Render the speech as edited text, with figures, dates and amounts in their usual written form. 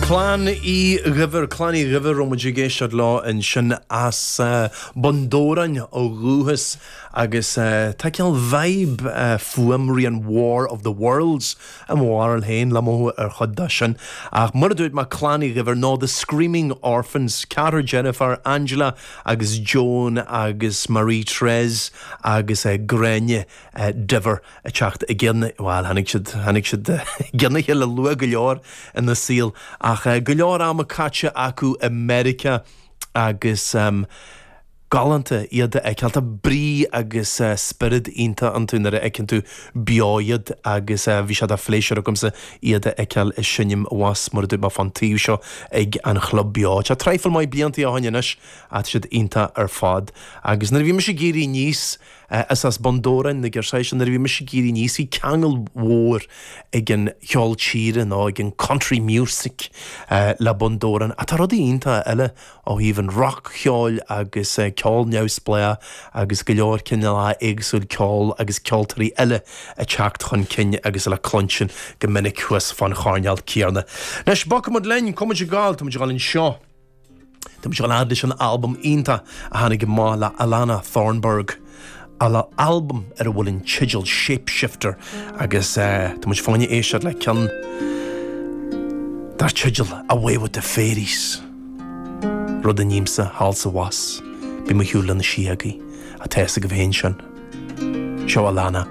Clann Uí Dhuibhir, Clann Uí Dhuibhir, raibh muid ag éisteacht leo ansin as Bun Dobhráin ó dhúchas agus tá cineál vibe fuaimrian War of the Worlds i mo bharúil féin le mothú ar chuid de sin. Ach mar a dúirt mé, Clann Uí Dhuibhir nó The Screaming Orphans, ceathrar deirfiúr, Angela agus Joan agus Marie Therese agus Gráinne Diver ag teacht i gcionn, bhuel, tháinig siad, tháinig siad i gcionn a chéile luath go leor ina saol, ach go leor ama caite acu i Meiriceá agus galánta iad a fheiceáil. Tá brí agus spiorad iontach iontu nuair a fheiceann tú beo iad agus bhí sé de phléisiúr agamsa iad a fheiceáil ag seinm abhus, mar a dúirt mé, fán taobh seo ag an Chlub Beo. Tá traidhfil maith blianta ó shin anois ach tá siad iontach ar fad. Agus nuair a bhí mise ag éirí aníos, Is as Bun Dobhráin na girseachaí seo. Nuair a bhí mise ag éirí aníos bhí ceangal mhór ag an cheol tíre nó ag an country music le Bun Dobhráin. Ach tá rudaí iontacha eile ó thaobh an roc-cheoil agus ceol neamhspleách agus go leor cineálacha éagsúil ceoil agus ceoltóirí eile ag teacht chun cinn agus le cluinstin go minic thuas fán choirnéal céanna. Anois, bogfaidh muid linn, cá bhfuil muid ag gabháil, tá muid ag gabháil anseo. Tá muid ag gabháil a fhad leis an albam iontach a tháinig amach le Alana Thornburg, albam ar a bhfuil an teideal Shapeshifter agus tá muid fá choinne éisteacht le ceann dar teideal Away with the Fairies. Rud a nímse thall 's abhus, bím ar shiúl le na síogaí, tá a fhios agaibh féin sin. Seo Alana.